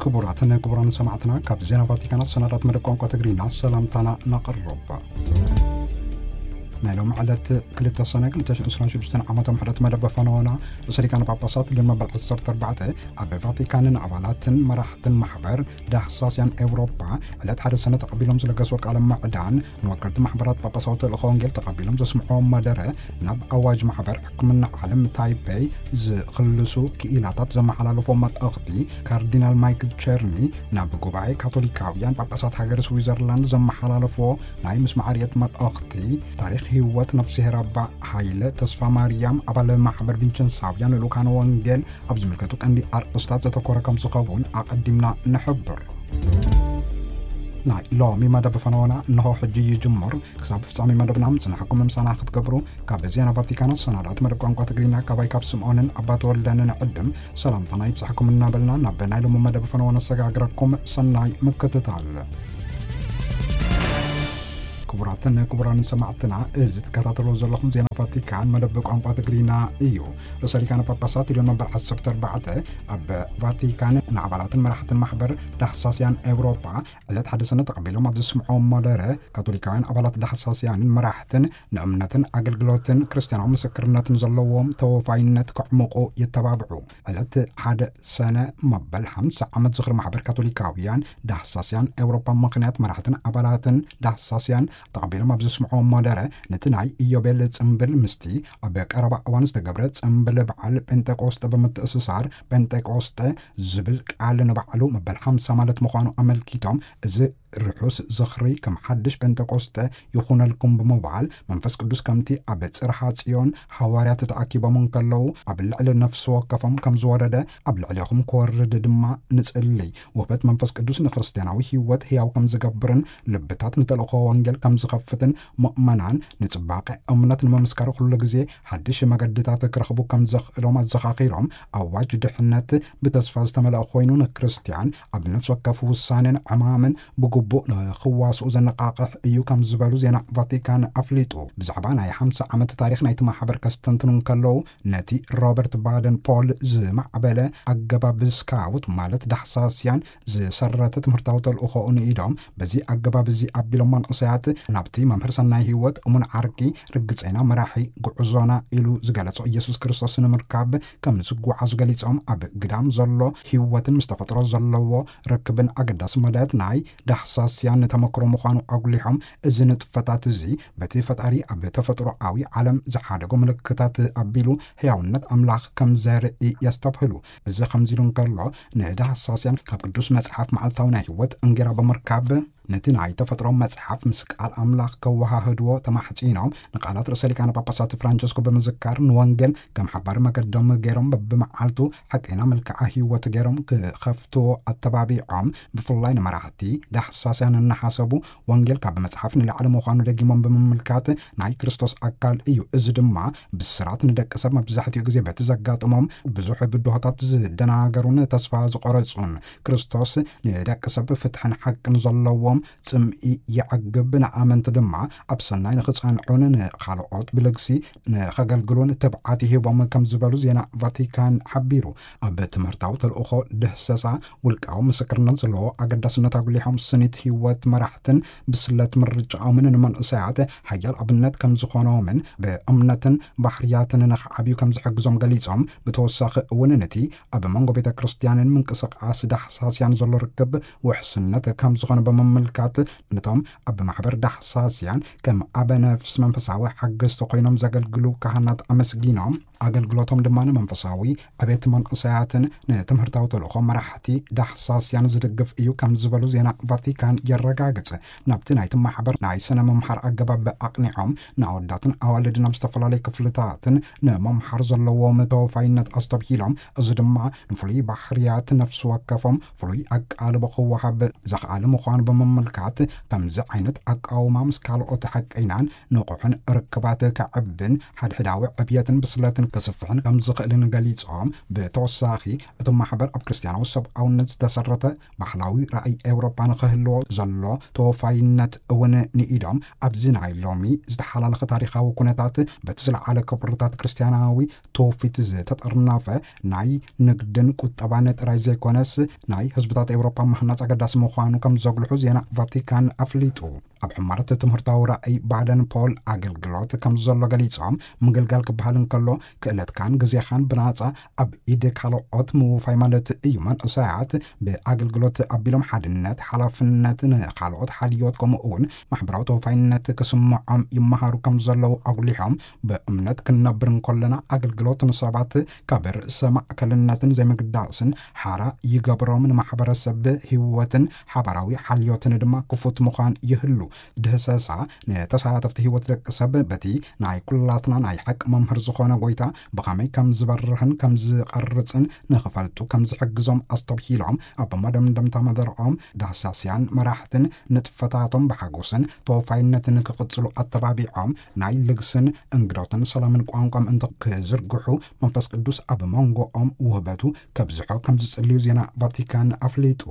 ክቡራትን ክቡራን ሰማዕትና፣ ካብ ዜና ቫቲካን ኣሰናዳት መደብ ቋንቋ ትግርኛ ሰላምታና ነቕርብ። ናይ ሎሚ ዕለት ክልተ ሰነ ክልተ ሽሕን ዕስራን ሽዱሽተን ዓመተ ምሕረት መደብ ፈነወና ርእሰ ሊቃነ ጳጳሳት ልዮን መበል ዓሰርተ ኣርባዕተ ኣብ ቫቲካንን ኣባላትን መራሕትን ማሕበር ዳህሳስያን ኤውሮጳ ዕለት ሓደ ሰነ ተቐቢሎም ዝለገስዎ ቃለ ምዕዳን፣ ንወከልቲ ማሕበራት ጳጳሳዊ ተልእኾ ወንጌል ተቐቢሎም ዘስምዕዎ መደረ፣ ናብ ኣዋጅ ማሕበር ሕክምና ዓለም ታይፔይ ዝኽልሱ ክኢላታት ዘመሓላለፎ መልእኽቲ፣ ካርዲናል ማይክል ቸርኒ ናብ ጉባኤ ካቶሊካውያን ጳጳሳት ሃገር ስዊዘርላንድ ዘመሓላለፎ ናይ ምስማዕ ርእየት መልእኽቲ፣ ታሪኽ ህይወት ነፍስሄር ኣባ ሃይለ ተስፋ ማርያም፣ ኣባል ማሕበር ቪንቸንሳውያን ልኡካነ ወንጌል፣ ኣብ ዝምልከቱ ቀንዲ ኣርእስታት ዘተኮረ ከም ዝኸውን ኣቐዲምና ንሕብር። ናይ ሎሚ መደብ ፈነወና እንሆ ሕጂ ይጅምር። ክሳብ ፍጻሜ መደብና ምጽናሕኩም ምሳና ክትገብሩ ካብ ዜና ቫቲካን ኣሰናዳእቲ መደብ ቋንቋ ትግርኛ ካባይ ካብ ስምዖንን ኣባ ተወልደን ንዕድም ሰላምታና ይብጻሕኩም እናበልና፣ ናብ ናይ ሎሚ መደብ ፈነወ ነሰጋግረኩም። ሰናይ ምክትታል። ክቡራትን ክቡራንን ሰማዕትና፣ እዚ ትከታተልዎ ዘለኹም ዜና ቫቲካን መደብ ቋንቋ ትግርኛ እዩ። ርእሰ ሊቃነ ጳጳሳት ልዮን መበል ዓሰርተ ኣርባዕተ ኣብ ቫቲካን ንኣባላትን መራሕትን ማሕበር ዳህሳስያን ኤውሮጳ ዕለት ሓደ ሰነ ተቐቢሎም ኣብ ዘስምዕዎ መደረ፣ ካቶሊካውያን ኣባላት ዳህሳስያንን መራሕትን ንእምነትን ኣገልግሎትን ክርስትያናዊ ምስክርነትን ዘለዎም ተወፋይነት ከዕምቑ የተባብዑ። ዕለት ሓደ ሰነ መበል ሓምሳ ዓመት ዝኽሪ ማሕበር ካቶሊካውያን ዳህሳስያን ኤውሮጳ ምኽንያት፣ መራሕትን ኣባላትን ዳህሳስያን ተቐቢሎም ኣብ ዘስምዕዎ መደረ፣ ነቲ ናይ ኢዮቤል ጽምብል ምስቲ ኣብ ቀረባ እዋን ዝተገብረ ጽምብል በዓል ጴንጠቆስጠ ብምትእስሳር፣ ጴንጠቆስጠ ዝብል ቃል ንባዕሉ መበል ሓምሳ ማለት ምዃኑ ኣመልኪቶም፣ እዚ ርሑስ ዝኽሪ ከም ሓድሽ ጴንጠቆስጠ ይኹነልኩም ብምባል፣ መንፈስ ቅዱስ ከምቲ ኣብ ጽርሓ ጽዮን ሃዋርያት ተኣኪቦም እንከለዉ ኣብ ልዕሊ ነፍሲ ወከፎም ከም ዝወረደ፣ ኣብ ልዕሌኹም ክወርድ ድማ ንጽልይ። ውህበት መንፈስ ቅዱስ ንክርስትያናዊ ህይወት ህያው ከም ዝገብርን ልብታት ንተልእኾ ወንጌል ከም ዝኸፍትን፣ ምእመናን ንጽባቐ እምነት ንምምስካር ኩሉ ግዜ ሓድሽ መገድታት ክረኽቡ ከም ዘኽእሎም ኣዘኻኺሮም፣ ኣዋጅ ድሕነት ብተስፋ ዝተመልአ ኮይኑ፣ ንክርስትያን ኣብ ነፍሲ ወከፍ ውሳኔን ዕማምን ብግቡእ ንኽዋስኡ ዘነቓቕሕ እዩ ከም ዝበሉ ዜና ቫቲካን ኣፍሊጡ። ብዛዕባ ናይ ሓምሳ ዓመት ታሪኽ ናይቲ ማሕበር ከስተንትኑ እንከለዉ፣ ነቲ ሮበርት ባደን ፖል ዝማዕበለ ኣገባብ ስካውት፣ ማለት ዳህሳስያን፣ ዝሰረተ ትምህርታዊ ተልእኾኡ ንኢዶም፣ በዚ ኣገባብ እዚ ኣቢሎም መንእሰያት ናብቲ መምህር ሰናይ ህይወት፣ እሙን ዓርኪ፣ ርግጸና መራሒ ጉዕዞና ኢሉ ዝገለጾ ኢየሱስ ክርስቶስ ንምርካብ ከም ዝጓዓዙ ገሊጾም፣ ኣብ ግዳም ዘሎ ህይወትን ምስ ተፈጥሮ ዘለዎ ርክብን ኣገዳሲ መዳያት ናይ ዳህሳስያን ተመክሮ ምዃኑ ኣጉሊሖም፣ እዚ ንጥፈታት እዚ በቲ ፈጣሪ ኣብ ተፈጥሮኣዊ ዓለም ዝሓደጎ ምልክታት ኣቢሉ ህያውነት ኣምላኽ ከም ዘርኢ የስተብህሉ። እዚ ከምዚ ኢሉ እንከሎ፣ ንዳህሳስያን ካብ ቅዱስ መጽሓፍ መዓልታዊ ናይ ህይወት እንጌራ ብምርካብ፣ ነቲ ናይ ተፈጥሮ መጽሓፍ ምስ ቃል ኣምላኽ ከወሃህድዎ ተማሕጺኖም፣ ንቃላት ርእሰ ሊቃነ ጳጳሳት ፍራንቸስኮ ብምዝካር፣ ንወንጌል ከም ሓባሪ መገዶም ገይሮም፣ በብመዓልቱ ሓቀይና መልክዓ ህይወት ገይሮም ክኸፍትዎ ኣተባቢዖም። ብፍላይ ንመራሕቲ ዳህሳስያን እናሓሰቡ፣ ወንጌል ካብ መጽሓፍ ንላዕሊ ምዃኑ ደጊሞም ብምምልካት፣ ናይ ክርስቶስ ኣካል እዩ። እዚ ድማ ብስራት ንደቂ ሰብ መብዛሕትኡ ግዜ በቲ ዘጋጥሞም ብዙሕ ብድሆታት ዝደናገሩን ተስፋ ዝቆረጹን፣ ክርስቶስ ንደቂ ሰብ ፍትሕን ሓቅን ዘለዎም ጽምኢ የዕግብ፣ ንኣመንቲ ድማ ኣብ ሰናይ ንኽጸንዑን ንኻልኦት ብልግሲ ንኸገልግሉን ትብዓት ይህቦም ከም ዝበሉ ዜና ቫቲካን ሓቢሩ። ኣብ ትምህርታዊ ተልእኾ ድህሰሳ ውልቃዊ ምስክርነት ዘለዎ ኣገዳስነት ኣጉሊሖም፣ ስኒት ህይወት መራሕትን ብስለት ምርጫኦምን ንመንእሰያት ሓያል ኣብነት ከም ዝኾኖምን ብእምነትን ባህርያትን ንኽዓብዩ ከም ዝሕግዞም ገሊጾም፣ ብተወሳኺ እውን ነቲ ኣብ መንጎ ቤተ ክርስቲያንን ምንቅስቃስ ዳህሳስያን ዘሎ ርክብ ውሕስነት ከም ዝኾነ ብምምልካት፣ ነቶም ኣብ ማሕበር ዳህሳስያን ከም ኣበ ነፍስ መንፈሳዊ ሓገዝቲ ኮይኖም ዘገልግሉ ካህናት ኣመስጊኖም፣ ኣገልግሎቶም ድማ ንመንፈሳዊ ዕቤት መንእሰያትን ንትምህርታዊ ተልእኾ መራሕቲ ዳህሳስያን ዝድግፍ እዩ ከም ዝበሉ ዜና ቫቲካን የረጋግጽ። ናብቲ ናይቲ ማሕበር ናይ ስነ ምምሓር ኣገባብ ኣቕኒዖም፣ ንኣወዳትን ኣዋልድን ኣብ ዝተፈላለዩ ክፍልታትን ንምምሓር ዘለዎም ተወፋይነት ኣስተብሂሎም፣ እዚ ድማ ንፍሉይ ባህርያት ነፍሲ ወከፎም ፍሉይ ኣቃልቦ ክወሃብ ዘኽኣለ ምዃኑ ብምም ምልካት ከምዚ ዓይነት ኣቃውማ ምስ ካልኦት ሓቀይናን ንቑሕን ርክባት ከዕብን ሓድሕዳዊ ዕብየትን ብስለትን ከስፍሕን ከም ዝኽእልን ገሊጾም፣ ብተወሳኺ እቲ ማሕበር ኣብ ክርስትያናዊ ሰብኣውነት ዝተሰረተ ባህላዊ ራእይ ኤውሮጳ ንኽህልዎ ዘሎ ተወፋይነት እውን ንኢዶም፣ ኣብዚ ናይ ሎሚ ዝተሓላለኸ ታሪኻዊ ኩነታት በቲ ዝለዓለ ክብርታት ክርስትያናዊ ትውፊት ዝተጠርነፈ ናይ ንግድን ቁጠባን ጥራይ ዘይኮነስ፣ ናይ ህዝብታት ኤውሮጳ ምህናጽ ኣገዳሲ ምዃኑ ከም ዘጉልሑ ዜና ቫቲካን ኣፍሊጡ። ኣብ ሕማረት ትምህርታዊ ራእይ ባደን ፖል ኣገልግሎት ከም ዘሎ ገሊጾም፣ ምግልጋል ክበሃል እንከሎ ክእለትካን ግዜኻን ብናጻ ኣብ ኢድ ካልኦት ምውፋይ ማለት እዩ። መንእሰያት ብኣገልግሎት ኣቢሎም ሓድነት፣ ሓላፍነት፣ ንኻልኦት ሓልዮት ከምኡ እውን ማሕበራዊ ተወፋይነት ክስምዖም ይመሃሩ ከም ዘለዉ ኣጉሊሖም፣ ብእምነት ክንነብር እንከለና ኣገልግሎት ንሰባት ካብ ርእሰ ማእከልነትን ዘይምግዳስን ሓራ ይገብሮም፣ ንማሕበረሰብ ህይወትን ሓባራዊ ሓልዮትን ድማ ክፉት ምዃን ይህሉ። ድህሰሳ ንተሳተፍቲ ህይወት ደቂ ሰብ በቲ ናይ ኩላትና ናይ ሓቂ መምህር ዝኾነ ጎይታ ብኸመይ ከም ዝበርህን ከም ዝቐርጽን ንኽፈልጡ ከም ዝሕግዞም ኣስተብሂሎም፣ ኣብ መደምደምታ መደርኦም ዳህሳስያን መራሕትን ንጥፈታቶም ብሓጎስን ተወፋይነትን ክቕጽሉ ኣተባቢዖም፣ ናይ ልግስን እንግዶትን ሰላምን ቋንቋ ምእንቲ ክዝርግሑ መንፈስ ቅዱስ ኣብ መንጎኦም ውህበቱ ከብዝሖ ከም ዝጽልዩ ዜና ቫቲካን ኣፍሊጡ።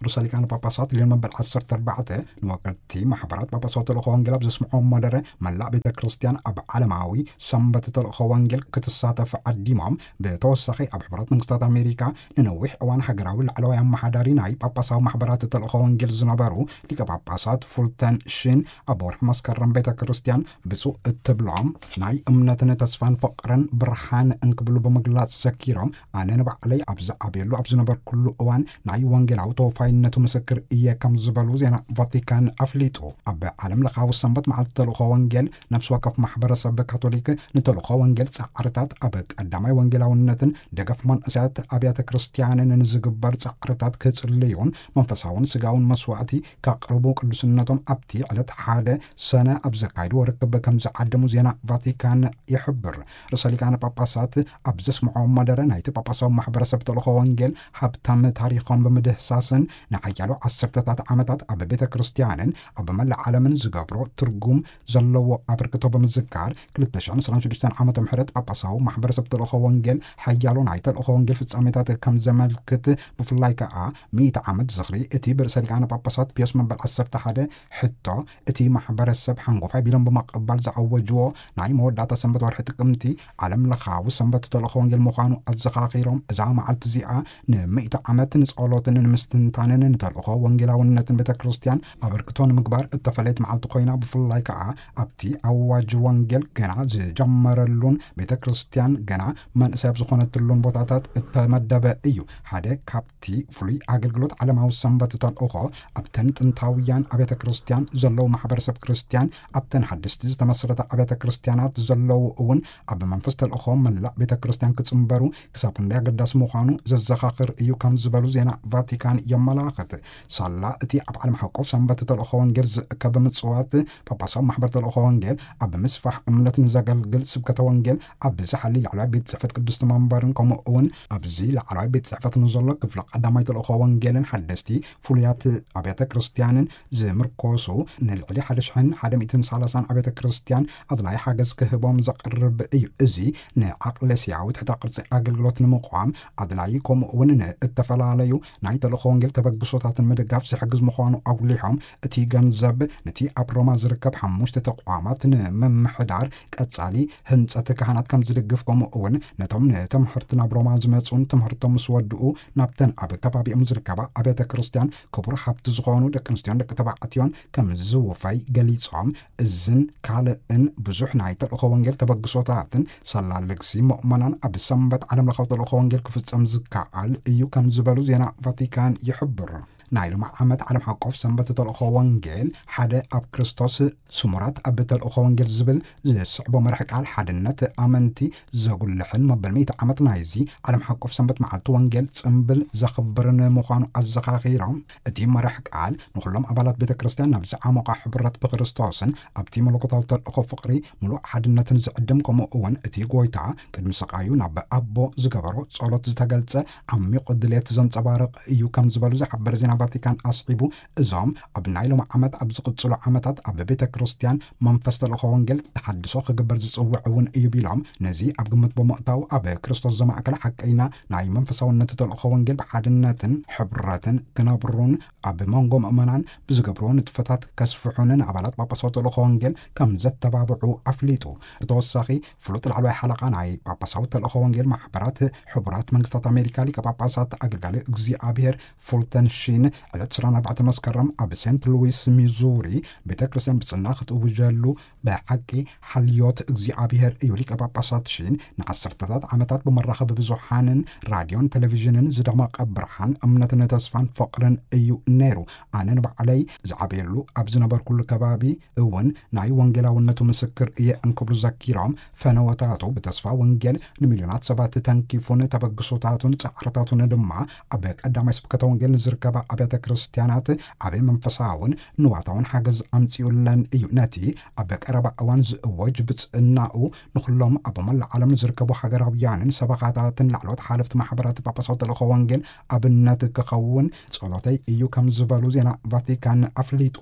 ርእሰ ሊቃነ ጳጳሳት ሊዮን መበል ዓሰርተ ኣርባዕተ ንወከልቲ ማሕበራት ጳጳሳዊ ተልእኾ ወንጌል ኣብ ዘስምዖ መደረ፣ መላእ ቤተ ክርስቲያን ኣብ ዓለማዊ ሰንበት ተልእኾ ወንጌል ክትሳተፍ ዓዲሞም፣ ብተወሳኺ ኣብ ሕቡራት መንግስታት ኣሜሪካ ንነዊሕ እዋን ሃገራዊ ላዕለዋይ ኣመሓዳሪ ናይ ጳጳሳዊ ማሕበራት ተልእኾ ወንጌል ዝነበሩ ሊቀ ጳጳሳት ፉልተን ሽን ኣብ ወርሒ መስከረም ቤተ ክርስቲያን ብፁዕ እትብሎም ናይ እምነትን ተስፋን ፍቕርን ብርሃን እንክብሉ ብምግላጽ ዘኪሮም፣ ኣነ ንባዕለይ ኣብ ዝዓብየሉ ኣብ ዝነበርኩሉ እዋን ናይ ወንጌላዊ ተወፋይነቱ ምስክር እየ ከም ዝበሉ ዜና ቫቲካን ኣፍሊጡ። ኣብ ዓለም ለኻዊ ሰንበት መዓልቲ ተልእኾ ወንጌል ነፍሲ ወከፍ ማሕበረሰብ ካቶሊክ ንተልእኾ ወንጌል ጻዕርታት ኣብ ቀዳማይ ወንጌላውነትን ደገፍ መንእሰያት ኣብያተ ክርስቲያንን ንዝግበር ጻዕርታት ክጽልዩን መንፈሳውን ስጋውን መስዋዕቲ ከቕርቡ ቅዱስነቶም ኣብቲ ዕለት ሓደ ሰነ ኣብ ዘካይድዎ ርክብ ከም ዝዓደሙ ዜና ቫቲካን ይሕብር። ርእሰ ሊቃነ ጳጳሳት ኣብ ዘስምዖ መደረ ናይቲ ጳጳሳዊ ማሕበረሰብ ተልእኾ ወንጌል ሃብታም ታሪኾም ብምድህሳስን ንሓያሎ ዓሰርተታት ዓመታት ኣብ ቤተ ክርስቲያንን ኣብ መላእ ዓለምን ዝገብሮ ትርጉም ዘለዎ ኣበርክቶ ብምዝካር፣ ክልተ ሽሕን ዕስራን ሽዱሽተን ዓመተ ምህረት ጳጳሳዊ ማሕበረሰብ ተልእኾ ወንጌል ሓያሎ ናይ ተልእኾ ወንጌል ፍጻሜታት ከም ዘመልክት፣ ብፍላይ ከኣ ሚእቲ ዓመት ዝኽሪ እቲ ብርእሰ ሊቃነ ጳጳሳት ፒዮስ መበል ዓሰርተ ሓደ ሕቶ፣ እቲ ማሕበረሰብ ሓንጎፋ ቢሎም ብምቕባል ዝኣወጅዎ ናይ መወዳእታ ሰንበት ወርሒ ጥቅምቲ ዓለም ለኻዊ ሰንበት ተልእኾ ወንጌል ምዃኑ ኣዘኻኺሮም፣ እዛ መዓልቲ እዚኣ ንሚእቲ ዓመት ንጸሎትን ንምስትንታንን ንተልእኾ ወንጌላውነትን ቤተ ክርስቲያን ኣበርክቶ ንምግባር እተፈለየት መዓልቲ ኮይና፣ ብፍላይ ከኣ ኣብቲ ኣዋጅ ወንጌል ገና ዝጀመረሉን ቤተ ክርስቲያን ገና መንእሰይ ኣብ ዝኾነትሉን ቦታታት እተመደበ እዩ። ሓደ ካብቲ ፍሉይ ኣገልግሎት ዓለማዊ ሰንበት ተልእኾ ኣብተን ጥንታውያን ኣብያተ ክርስቲያን ዘለዉ ማሕበረሰብ ክርስቲያን ኣብተን ሓደስቲ ዝተመስረታ ኣብያተ ክርስቲያናት ዘለዉ እውን ኣብ መንፈስ ተልእኾ መላእ ቤተ ክርስቲያን ክጽንበሩ ክሳብ ክንደይ ኣገዳሲ ምዃኑ ዘዘኻኽር እዩ ከም ዝበሉ ዜና ቫቲካን የመላኽት። ሳላ እቲ ኣብ ዓለም ሓቆፍ ሰንበት ተልእኾ ወንጌል ዝእከብ ምጽዋት ጳጳሳዊ ማሕበር ተልእኾ ወንጌል ኣብ ምስፋሕ እምነት ንዘገልግል ስብከተ ወንጌል ኣብ ዝሓሊ ላዕለዋይ ቤት ጽሕፈት ቅድስቲ መንበርን ከምኡ እውን ኣብዚ ላዕለዋይ ቤት ጽሕፈት ንዘሎ ክፍሊ ቀዳማይ ተልእኾ ወንጌልን ሓደስቲ ፍሉያት ኣብያተ ክርስቲያንን ዝምርኮሱ ንልዕሊ ሓደ ሽሕን ሓደ ሚእትን ሰላሳን ኣብያተ ክርስቲያን ኣድላይ ሓገዝ ክህቦም ዘቕርብ እዩ። እዚ ንዓቕለስያዊ ትሕተ ቅርጺ ኣገልግሎት ንምቋም ኣድላይ፣ ከምኡ እውን ንእተፈላለዩ ናይ ተልእኾ ወንጌል ተበግሶታትን ምድጋፍ ዝሕግዝ ምዃኑ ኣጉሊሖም፣ እቲ ገንዘብ ነቲ ኣብ ሮማ ዝርከብ ሓሙሽተ ተቋማት ንምምሕዳር ቀጻሊ ህንጸት ካህናት ከም ዝድግፍ፣ ከምኡ እውን ነቶም ንትምህርቲ ናብ ሮማ ዝመጹን ትምህርቶም ምስ ወድኡ ናብተን ኣብ ከባቢኦም ዝርከባ ኣብያተ ክርስቲያን ክቡር ሃብቲ ዝኾኑ ደቂ ኣንስትዮን ደቂ ተባዕትዮን ከም ዝውፈይ ገሊጾም፣ እዝን ካልእን ብዙሕ ናይ ተልእኾ ወንጌል ተበግሶታትን ሰላል ልግሲ ምእመናን ኣብ ሰንበት ዓለም ለኻዊ ተልእኾ ወንጌል ክፍጸም ዝከኣል እዩ ከም ዝበሉ ዜና ቫቲካን ይሕብር። ናይ ሎሚ ዓመት ዓለም ሓቆፍ ሰንበት ተልእኾ ወንጌል ሓደ ኣብ ክርስቶስ ስሙራት ኣብ ተልእኾ ወንጌል ዝብል ዝስዕቦ መርሒ ቃል ሓድነት ኣመንቲ ዘጉልሕን መበል ሚእቲ ዓመት ናይዚ ዓለም ሓቆፍ ሰንበት መዓልቲ ወንጌል ጽምብል ዘኽብርን ምዃኑ ኣዘኻኺሮም፣ እቲ መርሒ ቃል ንኹሎም ኣባላት ቤተ ክርስቲያን ናብ ዝዓሞቐ ሕብረት ብክርስቶስን ኣብቲ መለኮታዊ ተልእኾ ፍቕሪ ምሉእ ሓድነትን ዝዕድም፣ ከምኡ እውን እቲ ጎይታ ቅድሚ ስቓዩ ናብ ኣቦ ዝገበሮ ጸሎት ዝተገልጸ ዓሚቕ ድሌት ዘንጸባርቕ እዩ ከም ዝበሉ ዝሓበረ ዜና ቫቲካን ኣስዒቡ፣ እዞም ኣብ ናይ ሎም ዓመት ኣብ ዝቕጽሉ ዓመታት ኣብ ቤተ ክርስቲያን መንፈስ ተልእኾ ወንጌል ተሓድሶ ክግበር ዝጽውዕ እውን እዩ ቢሎም፣ ነዚ ኣብ ግምት ብምእታው ኣብ ክርስቶስ ዘማእከለ ሓቀይና ናይ መንፈሳውነት ተልእኾ ወንጌል ብሓድነትን ሕብረትን ክነብሩን ኣብ መንጎ ምእመናን ብዝገብርዎ ንጥፈታት ከስፍሑን ንኣባላት ጳጳሳዊ ተልእኾ ወንጌል ከም ዘተባብዑ ኣፍሊጡ። ብተወሳኺ ፍሉጥ ላዕለዋይ ሓለቓ ናይ ጳጳሳዊ ተልእኾ ወንጌል ማሕበራት ሕቡራት መንግስታት ኣሜሪካ ሊቀ ጳጳሳት ኣገልጋሊ እግዚኣብሔር ፉልተን ሺን ዕለት ዕስራን ኣርባዕተን መስከረም ኣብ ሴንት ሉዊስ ሚዙሪ ቤተ ክርስቲያን ብጽና ክትእውጀሉ ብሓቂ ሓልዮት እግዚኣብሔር እዩ። ሊቀ ጳጳሳት ሺን ንዓሰርተታት ዓመታት ብመራኸቢ ብዙሓንን ራድዮን ቴሌቪዥንን ዝደመቐ ብርሃን እምነትን ተስፋን ፍቕርን እዩ ነይሩ። ኣነ ንባዕለይ ዝዓበየሉ ኣብ ዝነበርኩሉ ከባቢ እውን ናይ ወንጌላውነቱ ምስክር እየ እንክብሉ ዘኪሮም፣ ፈነወታቱ ብተስፋ ወንጌል ንሚልዮናት ሰባት ተንኪፉን ተበግሶታቱን ጻዕርታቱን ድማ ኣብ ቀዳማይ ስብከተ ወንጌል ንዝርከባ ኣብያተ ክርስቲያናት ዓቢ መንፈሳውን ንዋታውን ሓገዝ ኣምጺኡለን እዩ። ነቲ ኣብ ቀረባ እዋን ዝእወጅ ብጽእናኡ ንኹሎም ኣብ መላእ ዓለም ንዝርከቡ ሃገራውያንን ሰበኻታትን ላዕለዎት ሓለፍቲ ማሕበራት ጳጳሳዊ ተልእኾ ወንጌል ኣብነት ክኸውን ጸሎተይ እዩ ከም ዝበሉ ዜና ቫቲካን ኣፍሊጡ።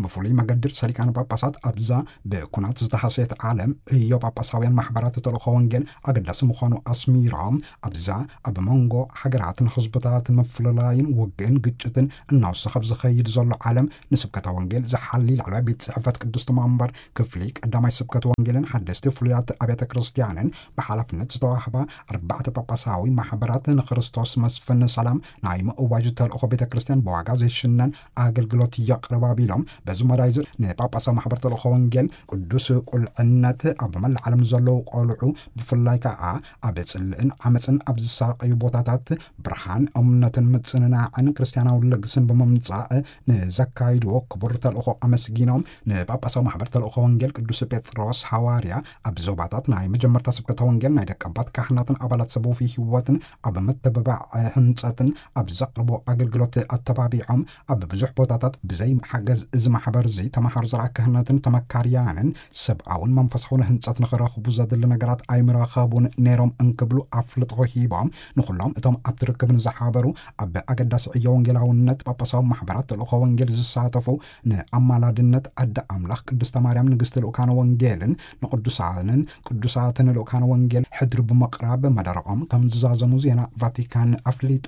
ብፍሉይ መገዲ ርእሰ ሊቃነ ጳጳሳት ኣብዛ ብኩናት ዝተሃሰየት ዓለም ዕዮ ጳጳሳውያን ማሕበራት ተልእኾ ወንጌል ኣገዳሲ ምዃኑ ኣስሚሮም፣ ኣብዛ ኣብ መንጎ ሃገራትን ህዝብታትን ምፍልላይን ውግእን ግጭትን እናወሰኸ ኣብ ዝኸይድ ዘሎ ዓለም ንስብከተ ወንጌል ዝሓሊ ላዕለዋይ ቤት ጽሕፈት ቅድስቲ መንበር ክፍሊ ቀዳማይ ስብከት ወንጌልን ሓደስቲ ፍሉያት ኣብያተ ክርስቲያንን ብሓላፍነት ዝተዋህባ ኣርባዕተ ጳጳሳዊ ማሕበራት ንክርስቶስ መስፍን ሰላም ናይ ምእዋጅ ተልእኾ ቤተ ክርስቲያን ብዋጋ ዘይሽነን ኣገልግሎት የቕርባ ቢሎም፣ በዚ መዳይ እዚ ንጳጳሳዊ ማሕበር ተልእኾ ወንጌል ቅዱስ ቁልዕነት ኣብ መላእ ዓለም ዘለዉ ቆልዑ ብፍላይ ከኣ ኣብ ጽልእን ዓመፅን ኣብ ዝሳቀዩ ቦታታት ብርሃን እምነትን ምጽንናዕን ክርስቲያናዊ ልግስን ብምምጻእ ንዘካይድዎ ክቡር ተልእኾ ኣመስጊኖም፣ ንጳጳሳዊ ማሕበር ተልእኾ ወንጌል ቅዱስ ጴጥሮስ ሓዋርያ ኣብ ዞባታት ናይ መጀመርታ ስብከተ ወንጌል ናይ ደቀባት ካህናትን ኣባላት ሰብ ወፍይ ህይወትን ኣብ ምትብባዕ ህንጸትን ኣብ ዘቕርቦ ኣገልግሎት ኣተባቢዖም፣ ኣብ ብዙሕ ቦታታት ብዘይ ሓገዝ እዚ ማሕበር እዚ ተማሃሮ ዘርኣ ክህነትን ተመካርያንን ሰብኣውን መንፈሳውን ህንጸት ንኽረኽቡ ዘድሊ ነገራት ኣይምረኸቡን ነይሮም እንክብሉ ኣፍልጦ ሂቦም፣ ንኹሎም እቶም ኣብቲ ርክብ ንዝሓበሩ ኣብ ኣገዳሲ ዕዮ ወንጌላውነት ጳጳሳዊ ማሕበራት ተልእኾ ወንጌል ዝሳተፉ ንኣማላድነት ኣደ ኣምላኽ ቅድስተ ማርያም ንግስቲ ልኡካነ ወንጌልን ንቅዱሳንን ቅዱሳትን ልኡካነ ወንጌል ሕድሪ ብምቕራብ መደረኦም ከም ዝዛዘሙ ዜና ቫቲካን ኣፍሊጡ።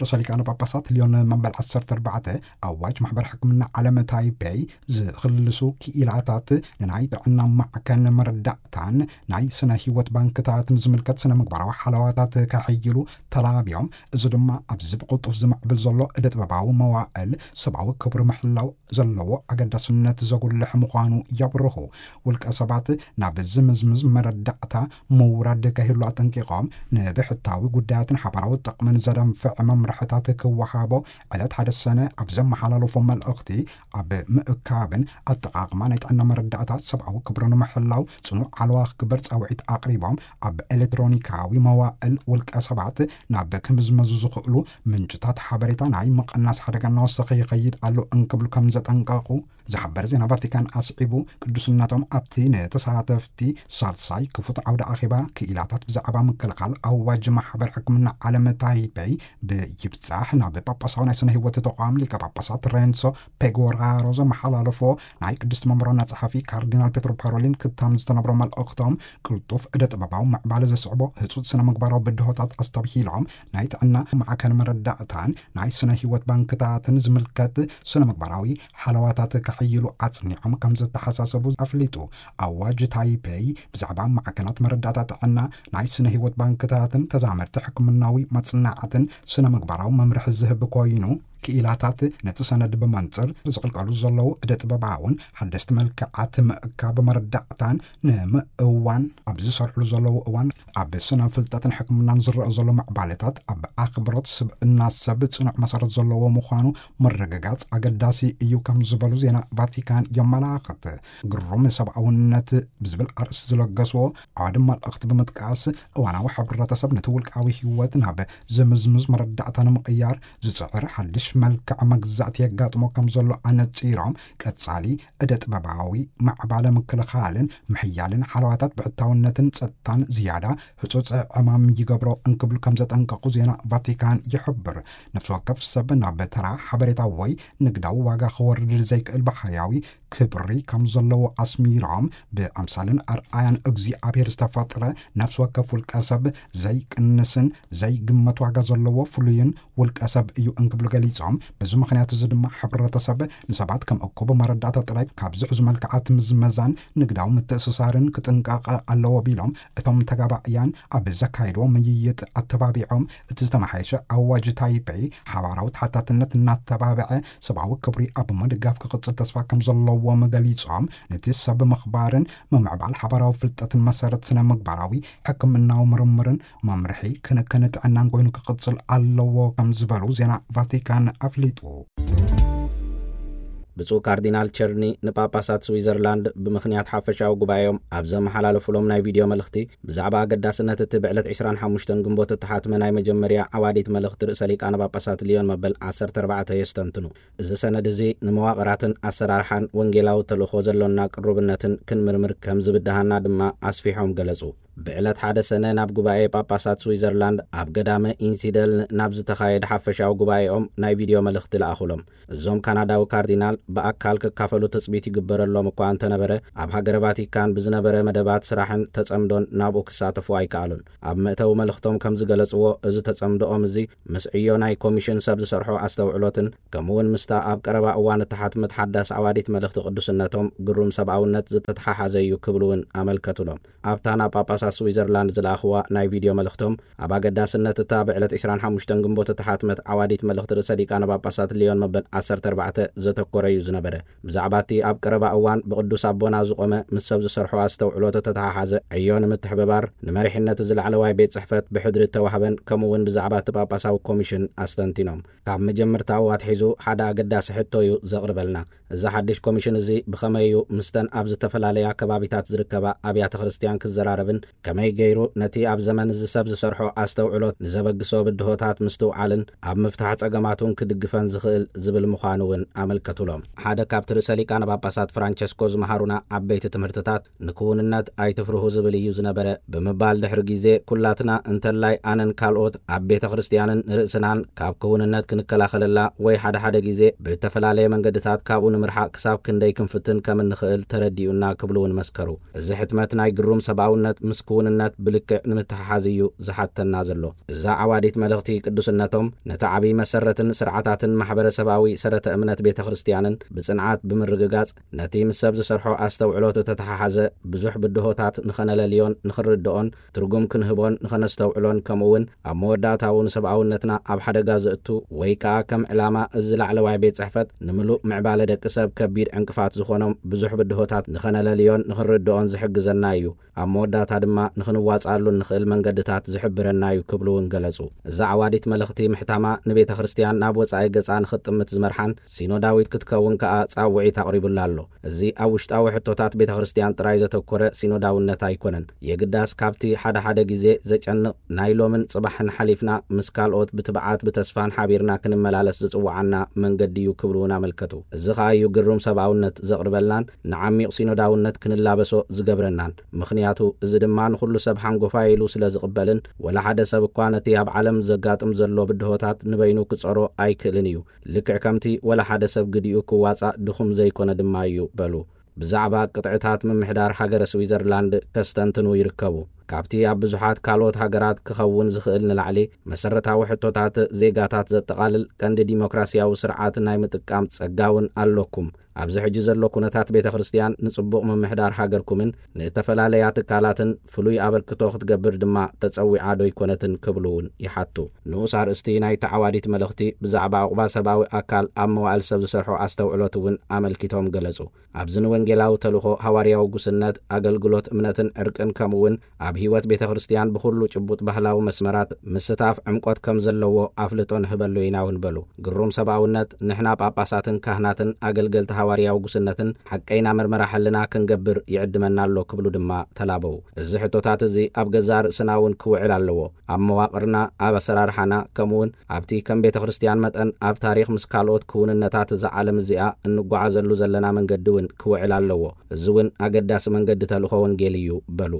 ርእሰ ሊቃነ ጳጳሳት ሊዮን መበል ዓሰርተ ኣርባዕተ ኣዋጅ ማሕበር ሕክምና ዓለም ታይፔይ ዝኽልሱ ክኢላታት ንናይ ጥዕና ማዕከን መረዳእታን ናይ ስነ ህይወት ባንክታትን ዝምልከት ስነ ምግባራዊ ሓለዋታት ከሕይሉ ተላብዮም። እዚ ድማ ኣብዚ ብቕልጡፍ ዝምዕብል ዘሎ እደ ጥበባዊ መዋእል ሰብኣዊ ክብሪ ምሕላው ዘለዎ ኣገዳስነት ዘጉልሕ ምዃኑ የብርሁ። ውልቀ ሰባት ናብ ዝምዝምዝ መረዳእታ ምውራድ ከህሉ ኣጠንቂቖም፣ ንብሕታዊ ጉዳያትን ሓባራዊ ጥቕምን ዘደንፍዕ መምርሕታት ክወሃቦ ዕለት ሓደ ሰነ ኣብ ዘመሓላለፎ መልእኽቲ፣ ኣብ ምእካብን ኣጠቓቕማ ናይ ጥዕና መረዳእታ ሰብኣዊ ክብሪ ንምሕላው ጽኑዕ ሓለዋ ክግበር ጻውዒት ኣቕሪቦም፣ ኣብ ኤሌክትሮኒካዊ መዋእል ውልቀ ሰባት ናብ ክምዝመዙ ዝኽእሉ ምንጭታት ሓበሬታ ናይ ምቕናስ ሓደጋ እናወሰኸ ይኸይድ ኣሎ እንክብሉ ከም ዘጠንቀቑ ዝሓበረ ዜና ቫቲካን ኣስዒቡ፣ ቅዱስነቶም ኣብቲ ንተሳተፍቲ ሳልሳይ ክፉት ዓውደ ኣኼባ ክኢላታት ብዛዕባ ምክልኻል ኣዋጅ ማሕበር ሕክምና ዓለም ታይፔይ ብይብጻሕ ናብ ጳጳሳዊ ናይ ስነ ህይወት ተቋም ሊቀ ጳጳሳት ሬንሶ ፔጎራሮ ዘመሓላለፎ ናይ ቅድስቲ መንበር ዋና ጸሓፊ ካርዲናል ፔትሮ ፓሮሊን ክታም ዝተነብሮ መልእኽቶም፣ ቅልጡፍ እደ ጥበባዊ ምዕባለ ዘስዕቦ ህጹጽ ስነ ምግባራዊ ብድሆታት ኣስተብሂሎም፣ ናይ ጥዕና ማዕከን መረዳእታን ናይ ስነ ህይወት ባንክታትን ዝምልከት ስነ ምግባራዊ ሓለዋታት ከሕይሉ ኣጽኒዖም ከም ዘተሓሳሰቡ ኣፍሊጡ። ኣዋጅ ታይፔይ ብዛዕባ ማዕከናት መረዳእታ ጥዕና፣ ናይ ስነ ህይወት ባንክታትን ተዛመድቲ ሕክምናዊ መጽናዕትን ስነ ምግባራዊ መምርሒ ዝህብ ኮይኑ፣ ክኢላታት ነቲ ሰነድ ብመንጽር ዝቕልቀሉ ዘለዉ እደ ጥበባውን ሓደስቲ መልክዓት ምእካብ መረዳእታን ንምእዋን ኣብ ዝሰርሕሉ ዘለዉ እዋን፣ ኣብ ስነ ፍልጠትን ሕክምናን ዝረአ ዘሎ ምዕባለታት ኣብ ኣኽብሮት ስብእና ሰብ ጽኑዕ መሰረት ዘለዎ ምዃኑ ምርግጋጽ ኣገዳሲ እዩ ከም ዝበሉ ዜና ቫቲካን የመላኽት። ግሩም ሰብኣውነት ብዝብል ኣርእስቲ ዝለገስዎ ኣዋዲ መልእኽቲ ብምጥቃስ፣ እዋናዊ ሕብረተሰብ ነቲ ውልቃዊ ህይወት ናብ ዝምዝምዝ መረዳእታ ንምቕያር ዝጽዕር ሓድሽ መልክዕ መግዛእቲ የጋጥሞ ከም ዘሎ ኣነጺሮም፣ ቀጻሊ ዕደ ጥበባዊ ማዕባለ ምክልኻልን ምሕያልን ሓለዋታት ብሕታውነትን ጸጥታን ዝያዳ ህጹጽ ዕማም ይገብሮ እንክብሉ ከም ዘጠንቀቑ ዜና ቫቲካን ይሕብር። ነፍሲ ወከፍ ሰብ ናብ ተራ ሓበሬታ ወይ ንግዳዊ ዋጋ ክወርድ ዘይክእል ባህርያዊ ክብሪ ከም ዘለዎ ኣስሚሮም፣ ብኣምሳልን ኣርኣያን እግዚኣብሔር ዝተፈጥረ ነፍሲ ወከፍ ውልቀ ሰብ ዘይቅንስን ዘይግመት ዋጋ ዘለዎ ፍሉይን ውልቀ ሰብ እዩ እንክብሉ ገሊጾም፣ በዚ ምኽንያት እዚ ድማ ሕብረተሰብ ንሰባት ከም እኩብ መረዳእታ ጥራይ ካብ ዝሕዙ መልክዓት ምዝመዛን ንግዳዊ ምትእስሳርን ክጥንቀቕ ኣለዎ ቢሎም፣ እቶም ተጋባእያን ኣብ ዘካየድዎ ምይይጥ ኣተባቢዖም፣ እቲ ዝተመሓየሸ ኣዋጅ ታይፔይ ሓባራዊ ተሓታትነት እናተባብዐ ሰብኣዊ ክብሪ ኣብ ምድጋፍ ክቕጽል ተስፋ ከም ዘለዎም ገሊጾም፣ ነቲ ሰብ ምኽባርን ምምዕባል ሓባራዊ ፍልጠትን መሰረት ስነ ምግባራዊ ሕክምናዊ ምርምርን መምርሒ ክንክን ጥዕናን ኮይኑ ክቕጽል ኣለዎ ከም ዝበሉ ዜና ቫቲካን ኣፍሊጡ። ብፁዕ ካርዲናል ቸርኒ ንጳጳሳት ስዊዘርላንድ ብምኽንያት ሓፈሻዊ ጉባኤኦም ኣብ ዘመሓላለፉሎም ናይ ቪድዮ መልእኽቲ፣ ብዛዕባ ኣገዳስነት እቲ ብዕለት ዕስራን ሓሙሽተን ግንቦት እተሓትመ ናይ መጀመርያ ዓዋዲት መልእኽቲ ርእሰ ሊቃነ ጳጳሳት ሊዮን መበል ዓሰርተ ኣርባዕተ የስተንትኑ። እዚ ሰነድ እዚ ንመዋቕራትን ኣሰራርሓን ወንጌላዊ ተልእኾ ዘሎና ቅሩብነትን ክንምርምር ከም ዝብድሃና ድማ ኣስፊሖም ገለጹ። ብዕለት ሓደ ሰነ ናብ ጉባኤ ጳጳሳት ስዊዘርላንድ ኣብ ገዳመ ኢንሲደልን ናብ ዝተኻየደ ሓፈሻዊ ጉባኤኦም ናይ ቪድዮ መልእኽቲ ለኣኹሎም። እዞም ካናዳዊ ካርዲናል ብኣካል ክካፈሉ ትጽቢት ይግበረሎም እኳ እንተነበረ፣ ኣብ ሃገረ ቫቲካን ብዝነበረ መደባት ስራሕን ተጸምዶን ናብኡ ክሳተፉ ኣይከኣሉን። ኣብ መእተዊ መልእኽቶም ከም ዝገለጽዎ፣ እዚ ተጸምዶኦም እዚ ምስ ዕዮ ናይ ኮሚሽን ሰብ ዝሰርሖ ኣስተውዕሎትን ከምኡ እውን ምስታ ኣብ ቀረባ እዋን እተሓትመት ሓዳስ ዓዋዲት መልእኽቲ ቅዱስነቶም ግሩም ሰብኣውነት ዝተተሓሓዘ እዩ ክብሉ እውን ኣመልከቱሎም። ኣብታ ናብ ጳጳሳት ስዊዘርላንድ ዝለኣኽዋ ናይ ቪድዮ መልእኽቶም፣ ኣብ ኣገዳስነት እታ ብዕለት ዕስራን ሓሙሽተን ግንቦት እተሓትመት ዓዋዲት መልእኽቲ ርእሰ ሊቃነ ጳጳሳት ሊዮን መበል ዓሰርተ ኣርባዕተ ዘተኮረ እዩ ዝነበረ። ብዛዕባ እቲ ኣብ ቀረባ እዋን ብቅዱስ ኣቦና ዝቆመ ምስ ሰብ ዝሰርሖ ኣስተውዕሎት እተተሓሓዘ ዕዮ ንምትሕብባር፣ ንመሪሕነት እዚ ላዕለዋይ ቤት ጽሕፈት ብሕድሪ እተዋህበን ከምኡ እውን ብዛዕባ እቲ ጳጳሳዊ ኮሚሽን ኣስተንቲኖም። ካብ መጀመርታኡ ኣትሒዙ ሓደ ኣገዳሲ ሕቶ እዩ ዘቕርበልና። እዚ ሓድሽ ኮሚሽን እዚ ብኸመይ እዩ ምስተን ኣብ ዝተፈላለያ ከባቢታት ዝርከባ ኣብያተ ክርስቲያን ክዘራረብን ከመይ ገይሩ ነቲ ኣብ ዘመን እዚ ሰብ ዝሰርሖ ኣስተውዕሎት ንዘበግሶ ብድሆታት ምስትውዓልን ኣብ ምፍታሕ ጸገማቱን ክድግፈን ዝኽእል ዝብል ምዃኑ እውን ኣመልከቱሎም። ሓደ ካብቲ ርእሰ ሊቃነ ጳጳሳት ፍራንቸስኮ ዝመሃሩና ዓበይቲ ትምህርትታት ንክውንነት ኣይትፍርሁ ዝብል እዩ ዝነበረ ብምባል፣ ድሕሪ ግዜ ኩላትና እንተላይ ኣነን ካልኦት ኣብ ቤተ ክርስቲያንን ንርእስናን ካብ ክውንነት ክንከላኸለላ ወይ ሓደ ሓደ ግዜ ብእተፈላለየ መንገድታት ካብኡ ንምርሓቕ ክሳብ ክንደይ ክንፍትን ከም እንኽእል ተረዲኡና ክብሉ እውን መስከሩ። እዚ ሕትመት ናይ ግሩም ሰብኣውነት ምስ ክውንነት ብልክዕ ንምትሕሓዝ እዩ ዝሓተና ዘሎ። እዛ ዓዋዲት መልእኽቲ ቅዱስነቶም ነቲ ዓብዪ መሰረትን ስርዓታትን ማሕበረሰባዊ ሰረተ እምነት ቤተ ክርስቲያንን ብጽንዓት ብምርግጋጽ፣ ነቲ ምስ ሰብ ዝሰርሖ ኣስተውዕሎት እተተሓሓዘ ብዙሕ ብድሆታት ንኸነለልዮን ንኽንርድኦን ትርጉም ክንህቦን ንኸነስተውዕሎን፣ ከምኡ እውን ኣብ መወዳእታኡ ንሰብኣውነትና ኣብ ሓደጋ ዘእቱ ወይ ከኣ ከም ዕላማ እዚ ላዕለዋይ ቤት ጽሕፈት ንምሉእ ምዕባለ ደቂ ሰብ ከቢድ ዕንቅፋት ዝኾኖም ብዙሕ ብድሆታት ንኸነለልዮን ንኽንርድኦን ዝሕግዘና እዩ። ኣብ መወዳእታ ድማ ንኽንዋጽኣሉ እንኽእል መንገድታት ዝሕብረና እዩ ክብሉ እውን ገለጹ። እዛ ዓዋዲት መልእኽቲ ምሕታማ ንቤተ ክርስቲያን ናብ ወጻኢ ገጻ ንኽጥምት ዝመርሓን ሲኖዳዊት ክትከውን ከኣ ጻውዒት ኣቕሪቡላ ኣሎ። እዚ ኣብ ውሽጣዊ ሕቶታት ቤተ ክርስቲያን ጥራይ ዘተኮረ ሲኖዳውነት ኣይኮነን። የግዳስ ካብቲ ሓደ ሓደ ግዜ ዘጨንቕ ናይ ሎምን ጽባሕን ሓሊፍና ምስ ካልኦት ብትብዓት ብተስፋን ሓቢርና ክንመላለስ ዝጽውዓና መንገዲ እዩ ክብሉ እውን ኣመልከቱ። እዚ ኸኣ እዩ ግሩም ሰብኣውነት ዘቕርበልናን ንዓሚቕ ሲኖዳውነት ክንላበሶ ዝገብረናን። ምኽንያቱ እዚ ድማ ንኹሉ ሰብ ሓንጎፋይ ኢሉ ስለ ዝቕበልን ወላ ሓደ ሰብ እኳ ነቲ ኣብ ዓለም ዘጋጥም ዘሎ ብድሆታት ንበይኑ ክጸሮ ኣይክእልን እዩ። ልክዕ ከምቲ ወላ ሓደ ሰብ ግዲኡ ክዋጻእ ድኹም ዘይኮነ ድማ እዩ በሉ። ብዛዕባ ቅጥዕታት ምምሕዳር ሃገረ ስዊዘርላንድ ከስተንትኑ ይርከቡ። ካብቲ ኣብ ብዙሓት ካልኦት ሃገራት ክኸውን ዝኽእል ንላዕሊ፣ መሰረታዊ ሕቶታት ዜጋታት ዘጠቓልል ቀንዲ ዲሞክራሲያዊ ስርዓት ናይ ምጥቃም ጸጋ እውን ኣለኩም። ኣብዚ ሕጂ ዘሎ ኩነታት ቤተ ክርስቲያን ንጽቡቕ ምምሕዳር ሃገርኩምን ንእተፈላለያ ትካላትን ፍሉይ ኣበርክቶ ክትገብር ድማ ተጸዊዓ ዶ ኣይኮነትን ክብሉ እውን ይሓቱ። ንኡስ ኣርእስቲ ናይታ ዓዋዲት መልእኽቲ ብዛዕባ ዕቑባ ሰብኣዊ ኣካል ኣብ መዋእል ሰብ ዝሰርሖ ኣስተውዕሎት እውን ኣመልኪቶም ገለጹ። ኣብዚ ንወንጌላዊ ተልእኾ ሃዋርያዊ ጉስነት፣ ኣገልግሎት እምነትን ዕርቅን ከምኡ እውን ኣብ ህይወት ቤተ ክርስቲያን ብኹሉ ጭቡጥ ባህላዊ መስመራት ምስታፍ ዕምቆት ከም ዘለዎ ኣፍልጦ ንህበሉ ኢና እውን በሉ። ግሩም ሰብኣውነት፣ ንሕና ጳጳሳትን ካህናትን ኣገልገልቲ ሃዋርያዊ ጉስነትን ሓቀይና መርመራ ሕልና ክንገብር ይዕድመና ኣሎ ክብሉ ድማ ተላበው። እዚ ሕቶታት እዚ ኣብ ገዛእ ርእስና እውን ክውዕል ኣለዎ። ኣብ መዋቕርና፣ ኣብ ኣሰራርሓና፣ ከምኡውን ኣብቲ ከም ቤተ ክርስቲያን መጠን ኣብ ታሪኽ ምስ ካልኦት ክውንነታት እዛ ዓለም እዚኣ እንጓዓዘሉ ዘለና መንገዲ እውን ክውዕል ኣለዎ። እዚ እውን ኣገዳሲ መንገዲ ተልእኾ ወንጌል እዩ በሉ።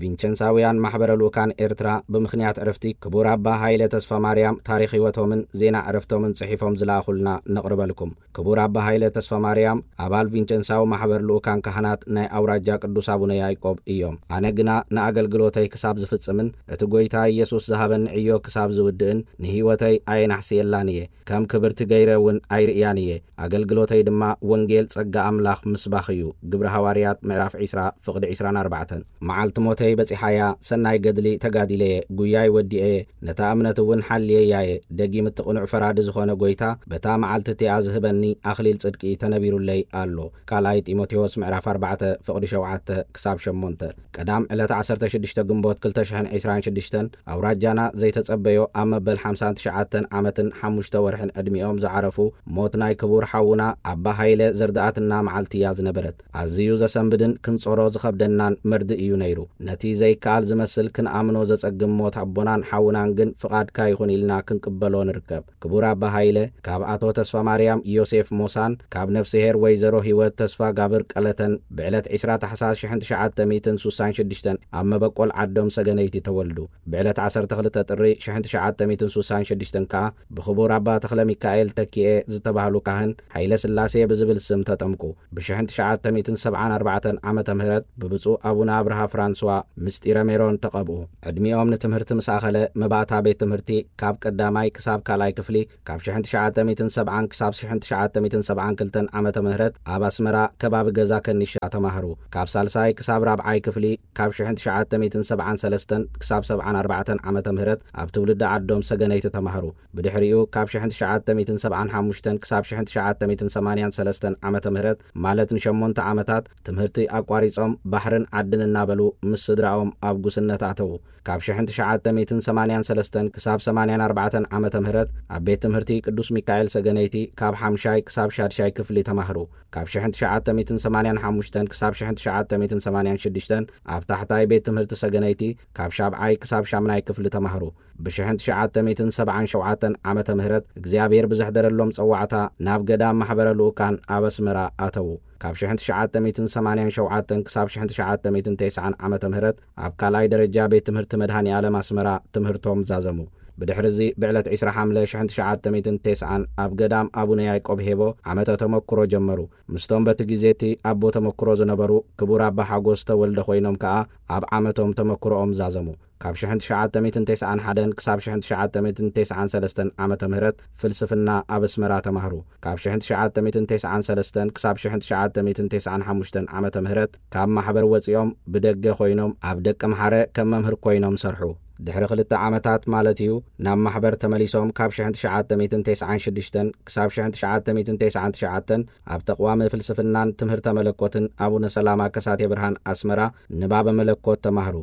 ቪንቸንሳውያን ማሕበረ ልኡካን ኤርትራ ብምኽንያት ዕረፍቲ ክቡር ኣባ ሃይለ ተስፋ ማርያም ታሪኽ ህይወቶምን ዜና ዕረፍቶምን ጽሒፎም ዝለኣኹልና ነቕርበልኩም። ክቡር ኣባ ሃይለ ተስፋ ማርያም ኣባል ቪንቸንሳዊ ማሕበር ልኡካን ካህናት ናይ ኣውራጃ ቅዱስ ኣቡነ ያዕቆብ እዮም። ኣነ ግና ንኣገልግሎተይ ክሳብ ዝፍጽምን እቲ ጐይታ ኢየሱስ ዝሃበኒ ዕዮ ክሳብ ዝውድእን ንህይወተይ ኣየናሕስየላን እየ። ከም ክብርቲ ገይረ እውን ኣይርእያን እየ። ኣገልግሎተይ ድማ ወንጌል ጸጋ ኣምላኽ ምስባኽ እዩ። ግብሪ ሃዋርያት ምዕራፍ ዕስራ ፍቕዲ ዕስራን ኣርባዕተን። መዓልቲ ሞተይ በጺሓያ፣ ሰናይ ገድሊ ተጋዲለየ፣ ጉያይ ወዲኤ፣ ነታ እምነት እውን ሓልየያየ። ደጊም እቲ ቅኑዕ ፈራዲ ዝኾነ ጐይታ በታ መዓልቲ እቲኣ ዝህበኒ ኣኽሊል ጽድቂ ተነቢሩለይ ኣሎ። ካልኣይ ጢሞቴዎስ ምዕራፍ ኣርባዕተ ፍቕዲ ሸውዓተ ክሳብ ሸሞንተ። ቀዳም ዕለት ዓሰርተ ሽዱሽተ ግንቦት ክልተ ሽሕን ዕስራን ሽዱሽተን ኣውራጃና ዘይተጸበዮ ኣብ መበል ሓምሳን ትሽዓተን ዓመትን ሓሙሽተ ወርሕን ዕድሚኦም ዝዓረፉ ሞት ናይ ክቡር ሓውና ኣባ ሃይለ ዘርድኣትና መዓልቲ እያ ዝነበረት። ኣዝዩ ዘሰንብድን ክንጾሮ ዝኸብደናን መርድእ እዩ ነይሩ። ነቲ ዘይከኣል ዝመስል ክንኣምኖ ዘጸግም ሞት ኣቦናን ሓውናን ግን ፍቓድካ ይኹን ኢልና ክንቅበሎ ንርከብ። ክቡር ኣባ ሃይለ ካብ ኣቶ ተስፋ ማርያም ዮሴፍ ሞሳን ካብ ነፍስሄር ወይዘሮ ህይወት ተስፋ ጋብር ቀለተን ብዕለት ዕስራ ታሕሳስ ሽሕን ትሽዓተ ሚእትን ሱሳን ሽዱሽተን ኣብ መበቆል ዓዶም ሰገነይቲ ተወልዱ። ብዕለት ዓሰርተ ክልተ ጥሪ ሽሕን ትሽዓተ ሚእትን ሱሳን ሽዱሽተን ከኣ ብክቡር ኣባ ተኽለ ሚካኤል ተኪኤ ዝተባህሉ ካህን ሃይለ ስላሴ ብዝብል ስም ተጠምቁ። ብሽሕን ትሽዓተ ሚእትን ሰብዓን ኣርባዕተን ዓመተ ምህረት ብብፁዕ ኣቡነ ኣብርሃ ፍራንስዋ ምስጢረ ሜሮን ተቐብኡ። ዕድሚኦም ንትምህርቲ ምስ ኣኸለ መባእታ ቤት ትምህርቲ ካብ ቀዳማይ ክሳብ ካልኣይ ክፍሊ ካብ ሽሕን ትሽዓተ ሚእትን ሰብዓን ክሳብ ሽሕን ትሽዓተ ሚእትን ሰብዓን ክልተን ዓመተ ምህረት ኣብ ኣስመራ ከባቢ ገዛ ከኒሻ ተማህሩ። ካብ ሳልሳይ ክሳብ ራብዓይ ክፍሊ ካብ ሽሕን ትሽዓተ ሚእትን ሰብዓን ሰለስተን ክሳብ ሰብዓን ኣርባዕተን ዓመተ ምህረት ኣብ ትውልዲ ዓዶም ሰገነይቲ ተማህሩ። ብድሕሪኡ ካብ ሽሕን ትሽዓተ ሚእትን ሰብዓን ሓሙሽተን ክሳብ ሽሕን ትሽዓተ ሚእትን ሰማንያን ሰለስተን ዓመተ ምህረት ማለት ንሸሞንተ ዓመታት ትምህርቲ ኣቋሪጾም ባሕርን ዓድን እናበሉ ምስ ስድራኦም ኣብ ጉስነት ኣተዉ። ካብ ሽሕን ትሽዓተ ሚእትን ሰማንያን ሰለስተን ክሳብ ሰማንያን ኣርባዕተን ዓመተ ምህረት ኣብ ቤት ትምህርቲ ቅዱስ ሚካኤል ሰገነይቲ ካብ ሓምሻይ ክሳብ ሻድሻይ ክፍሊ ተማህሩ። ካብ ሽሕን ትሽዓተ ሚእትን ሰማንያን ሓሙሽተን ክሳብ ሽሕን ትሽዓተ ሚእትን ሰማንያን ሽዱሽተን ኣብ ታሕታይ ቤት ትምህርቲ ሰገነይቲ ካብ ሻብዓይ ክሳብ ሻምናይ ክፍሊ ተማህሩ። ብሽሕን ትሽዓተ ሚእትን ሰብዓን ሸውዓተን ዓመተ ምህረት እግዚኣብሔር ብዘሕደረሎም ጸዋዕታ ናብ ገዳም ማሕበረ ልኡካን ኣብ ኣስመራ ኣተዉ። ካብ ሽሕን ትሽዓተ ሚእትን ሰማንያን ሸውዓተን ክሳብ ሽሕን ትሽዓተ ሚእትን ተስዓን ዓመተ ምህረት ኣብ ካልኣይ ደረጃ ቤት ትምህርቲ መድሃኒ ዓለም ኣስመራ ትምህርቶም ዛዘሙ። ብድሕሪ እዚ ብዕለት ዕስራ ሓምለ ሽሕን ትሽዓተ ሚእትን ተስዓን ኣብ ገዳም ኣቡነ ያዕቆብ ሄቦ ዓመተ ተመክሮ ጀመሩ። ምስቶም በቲ ግዜ እቲ ኣቦ ተመክሮ ዝነበሩ ክቡር ኣባ ሓጎስ ተወልደ ኮይኖም ከኣ ኣብ ዓመቶም ተመክሮኦም ዛዘሙ። ካብ ሽሕን ትሽዓተ ሚእትን ተስዓን ሓደን ክሳብ ሽሕን ትሽዓተ ሚእትን ተስዓን ሰለስተን ዓመተ ምህረት ፍልስፍና ኣብ ኣስመራ ተማህሩ። ካብ ሽሕን ትሽዓተ ሚእትን ተስዓን ሰለስተን ክሳብ ሽሕን ትሽዓተ ሚእትን ተስዓን ሓሙሽተን ዓመተ ምህረት ካብ ማሕበር ወጺኦም ብደገ ኮይኖም ኣብ ደቂ ምሓረ ከም መምህር ኮይኖም ሰርሑ። ድሕሪ ክልተ ዓመታት ማለት እዩ ናብ ማሕበር ተመሊሶም። ካብ ሽሕን ትሽዓተ ሚእትን ተስዓን ሽዱሽተን ክሳብ ሽሕን ትሽዓተ ሚእትን ተስዓን ትሽዓተን ኣብ ተቕዋሚ ፍልስፍናን ትምህርተ መለኮትን ኣቡነ ሰላማ ከሳቴ ብርሃን ኣስመራ ንባበ መለኮት ተማህሩ።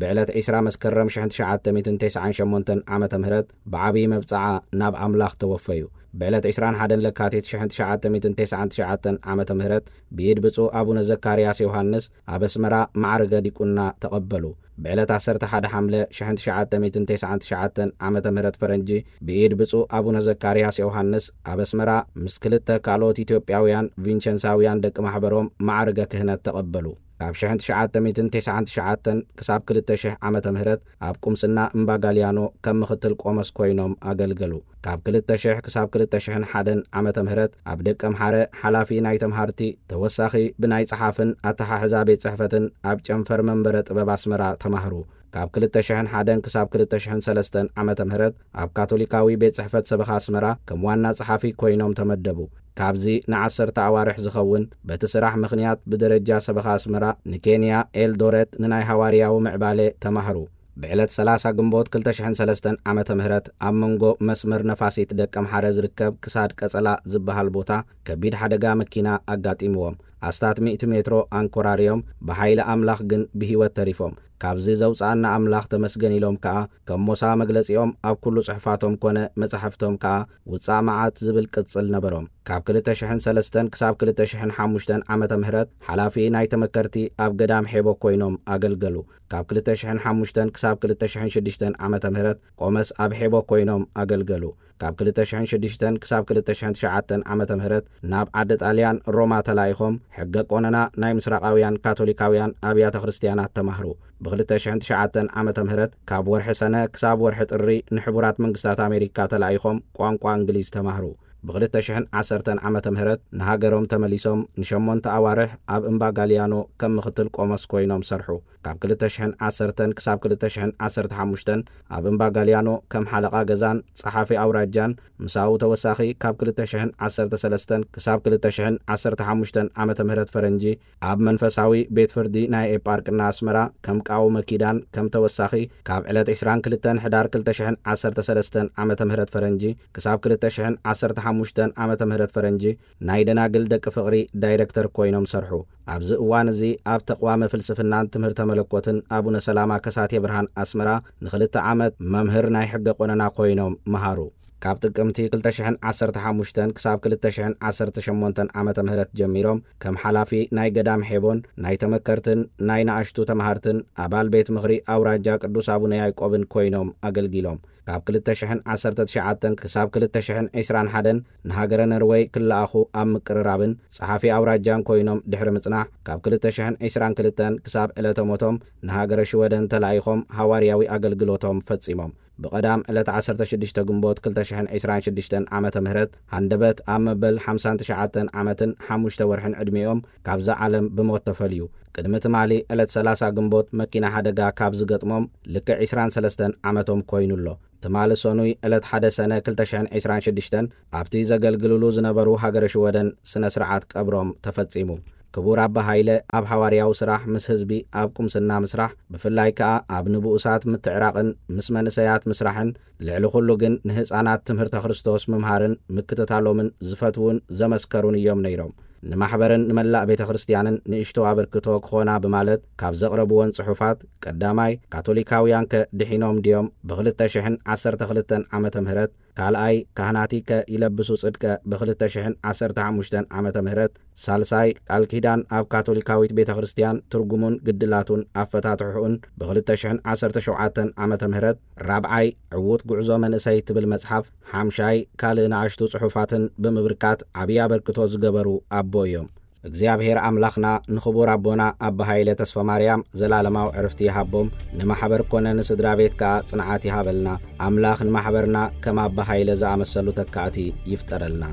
ብዕለት ዕስራ መስከረም ሽሕን ትሽዓተ ሚእትን ተስዓን ሸሞንተን ዓመተ ምህረት ብዓብዪ መብጽዓ ናብ ኣምላኽ ተወፈዩ። ብዕለት ዕስራን ሓደን ለካቲት ሽሕን ትሽዓተ ሚእትን ተስዓን ትሽዓተን ዓመተ ምህረት ብኢድ ብፁዕ ኣቡነ ዘካርያስ ዮሃንስ ኣብ ኣስመራ ማዕርገ ዲቁና ተቐበሉ። ብዕለት ዓሰርተ ሓደ ሓምለ ሽሕን ትሽዓተ ሚእትን ተስዓን ትሽዓተን ዓመተ ምህረት ፈረንጂ ብኢድ ብፁዕ ኣቡነ ዘካርያስ ዮሃንስ ኣብ ኣስመራ ምስ ክልተ ካልኦት ኢትዮጵያውያን ቪንቸንሳውያን ደቂ ማሕበሮም ማዕርገ ክህነት ተቐበሉ። ካብ ሽሕን ትሽዓተ ሚእትን ተስዓን ትሽዓተን ክሳብ ክልተ ሽሕ ዓመተ ምህረት ኣብ ቁምስና እምባ ጋልያኖ ከም ምኽትል ቆመስ ኮይኖም ኣገልገሉ። ካብ ክልተ ሽሕ ክሳብ ክልተ ሽሕን ሓደን ዓመተ ምህረት ኣብ ደቀ ምሓረ ሓላፊ ናይ ተምሃርቲ ተወሳኺ ብናይ ጸሓፍን ኣተሓሕዛ ቤት ጽሕፈትን ኣብ ጨንፈር መንበረ ጥበብ ኣስመራ ተማህሩ። ካብ ክልተ ሽሕን ሓደን ክሳብ ክልተ ሽሕን ሰለስተን ዓመተ ምህረት ኣብ ካቶሊካዊ ቤት ጽሕፈት ሰበኻ ኣስመራ ከም ዋና ጸሓፊ ኮይኖም ተመደቡ። ካብዚ ንዓሰርተ ኣዋርሕ ዝኸውን በቲ ስራሕ ምኽንያት ብደረጃ ሰበኻ ኣስመራ ንኬንያ ኤልዶረት ንናይ ሃዋርያዊ ምዕባለ ተማህሩ። ብዕለት ሰላሳ ግንቦት ክልተ ሽሕን ሰለስተን ዓመተ ምህረት ኣብ መንጎ መስመር ነፋሲት ደቀ ምሓረ ዝርከብ ክሳድ ቀጸላ ዝበሃል ቦታ ከቢድ ሓደጋ መኪና ኣጋጢምዎም። ኣስታት ሚእቲ ሜትሮ ኣንኮራርዮም፣ ብሓይሊ ኣምላኽ ግን ብህይወት ተሪፎም። ካብዚ ዘውፅኣና ኣምላኽ ተመስገን ኢሎም ከኣ፣ ከም ሞሳ መግለጺኦም ኣብ ኩሉ ጽሑፋቶም ኮነ መጻሕፍቶም ከኣ ውጻእ መዓት ዝብል ቅጽል ነበሮም። ካብ ክልተ ሽሕን ሰለስተን ክሳብ ክልተ ሽሕን ሓሙሽተን ዓመተ ምህረት ሓላፊ ናይ ተመከርቲ ኣብ ገዳም ሔቦ ኮይኖም ኣገልገሉ። ካብ ክልተ ሽሕን ሓሙሽተን ክሳብ ክልተ ሽሕን ሽዱሽተን ዓመተ ምህረት ቆመስ ኣብ ሔቦ ኮይኖም ኣገልገሉ። ካብ ክልተ ሽሕን ሽዱሽተን ክሳብ ክልተ ሽሕን ትሽዓተን ዓመተ ምህረት ናብ ዓዲ ጣልያን ሮማ ተላኢኾም ሕገ ቆነና ናይ ምስራቓውያን ካቶሊካውያን ኣብያተ ክርስትያናት ተማህሩ። ብ ክልተ ሽሕን ትሽዓተን ዓመተ ምህረት ካብ ወርሒ ሰነ ክሳብ ወርሒ ጥሪ ንሕቡራት መንግስታት ኣሜሪካ ተላኢኾም ቋንቋ እንግሊዝ ተማህሩ። ብ ክልተ ሽሕን ዓሰርተን ዓመተ ምህረት ንሃገሮም ተመሊሶም ንሸሞንተ ኣዋርሕ ኣብ እምባ ጋልያኖ ከም ምኽትል ቆሞስ ኮይኖም ሰርሑ። ካብ ክልተ ሽሕን ዓሰርተን ክሳብ ክልተ ሽሕን ዓሰርተ ሓሙሽተን ኣብ እምባ ጋልያኖ ከም ሓለቓ ገዛን ጸሓፊ ኣውራጃን፣ ምሳኡ ተወሳኺ ካብ ክልተ ሽሕን ዓሰርተ ሰለስተን ክሳብ ክልተ ሽሕን ዓሰርተ ሓሙሽተን ዓመተ ምህረት ፈረንጂ ኣብ መንፈሳዊ ቤት ፍርዲ ናይ ኤጳርቅና ኣስመራ ከም ቃውመ ኪዳን ከም ተወሳኺ ካብ ዕለት ዕስራን ክልተን ሕዳር ክልተ ሽሕን ዓሰርተ ሰለስተን ዓመተ ምህረት ፈረንጂ ክሳብ ክልተ ሽሕን ዓሰርተ ሓሙሽተን ዓመተ ምህረት ፈረንጂ ናይ ደናግል ደቂ ፍቕሪ ዳይረክተር ኮይኖም ሰርሑ። ኣብዚ እዋን እዚ ኣብ ተቕዋመ ፍልስፍናን ትምህርተ መለኮትን ኣቡነ ሰላማ ከሳቴ ብርሃን ኣስመራ ንኽልተ ዓመት መምህር ናይ ሕገ ቆነና ኮይኖም መሃሩ። ካብ ጥቅምቲ ክልተ ሽሕን ዓሰርተ ሓሙሽተን ክሳብ ክልተ ሽሕን ዓሰርተ ሸሞንተን ዓመተ ምህረት ጀሚሮም ከም ሓላፊ ናይ ገዳም ሔቦን ናይ ተመከርትን ናይ ንኣሽቱ ተማሃርትን ኣባል ቤት ምኽሪ ኣውራጃ ቅዱስ ኣቡነ ያዕቆብን ኮይኖም ኣገልጊሎም። ካብ ክልተ ሽሕን ዓሰርተ ትሽዓተን ክሳብ ክልተ ሽሕን ዕስራን ሓደን ንሃገረ ነርወይ ክለኣኹ ኣብ ምቅርራብን ጸሓፊ ኣውራጃን ኮይኖም ድሕሪ ምጽናሕ፣ ካብ ክልተ ሽሕን ዕስራን ክልተን ክሳብ ዕለተ ሞቶም ንሃገረ ሽወደን ተላኢኾም ሃዋርያዊ ኣገልግሎቶም ፈጺሞም። ብቐዳም ዕለት ዓሰርተ ሽዱሽተ ግንቦት ክልተ ሽሕን ዕስራን ሽዱሽተን ዓመተ ምህረት ሃንደበት ኣብ መበል ሓምሳን ትሽዓተን ዓመትን ሓሙሽተ ወርሕን ዕድሚኦም ካብዛ ዓለም ብሞት ተፈልዩ። ቅድሚ ትማሊ ዕለት ሰላሳ ግንቦት መኪና ሓደጋ ካብ ዝገጥሞም ልክዕ ዕስራን ሰለስተን ዓመቶም ኮይኑ ኣሎ። ትማሊ ሰኑይ ዕለት ሓደ ሰነ ክልተ ሽሕን ዕስራን ሽዱሽተን ኣብቲ ዘገልግልሉ ዝነበሩ ሃገረ ሽወደን ስነ ስርዓት ቀብሮም ተፈጺሙ። ክቡር ኣባ ሃይለ ኣብ ሓዋርያዊ ስራሕ ምስ ህዝቢ ኣብ ቁምስና ምስራሕ፣ ብፍላይ ከኣ ኣብ ንብኡሳት ምትዕራቕን ምስ መንእሰያት ምስራሕን፣ ልዕሊ ኩሉ ግን ንህጻናት ትምህርተ ክርስቶስ ምምሃርን ምክትታሎምን ዝፈትዉን ዘመስከሩን እዮም ነይሮም። ንማሕበርን ንመላእ ቤተ ክርስትያንን ንእሽቶ ኣበርክቶ ክኾና ብማለት ካብ ዘቕረብወን ጽሑፋት፣ ቀዳማይ፣ ካቶሊካውያንከ ድሒኖም ድዮም? ብ ክልተ ሽሕን ዓሰርተ ክልተን ዓመተ ምህረት፣ ካልኣይ፣ ካህናቲከ ይለብሱ ጽድቀ ብ ክልተ ሽሕን ዓሰርተ ሓሙሽተን ዓመተ ምህረት፣ ሳልሳይ፣ ቃል ኪዳን ኣብ ካቶሊካዊት ቤተ ክርስትያን ትርጉሙን ግድላቱን ኣፈታትሕኡን ብ ክልተ ሽሕን ዓሰርተ ሸውዓተን ዓመተ ምህረት፣ ራብዓይ፣ ዕዉት ጉዕዞ መንእሰይ ትብል መጽሓፍ፣ ሓምሻይ፣ ካልእ ንኣሽቱ ጽሑፋትን ብምብርካት ዓብዪ ኣበርክቶ ዝገበሩ ኣቦ እዮም። እግዚኣብሔር ኣምላኽና ንኽቡር ኣቦና ኣባ ሃይለ ተስፋ ማርያም ዘላለማዊ ዕርፍቲ ይሃቦም፣ ንማሕበር ኮነ ንስድራ ቤት ከኣ ጽንዓት ይሃበልና። ኣምላኽ ንማሕበርና ከም ኣባ ሃይለ ዝኣመሰሉ ተካእቲ ይፍጠረልና።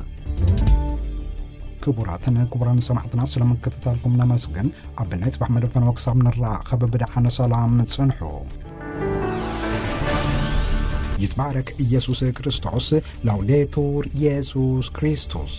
ክቡራትን ክቡራን ሰማዕትና፣ ስለ ምክትታልኩም ነመስግን። ኣብ ናይ ጽባሕ መደብ ፈነወ ክሳብ ንራኸብ ብደሓነ ሰላም ጽንሑ። ይትባረክ ኢየሱስ ክርስቶስ። ላውዴቱር ኢየሱስ ክርስቶስ።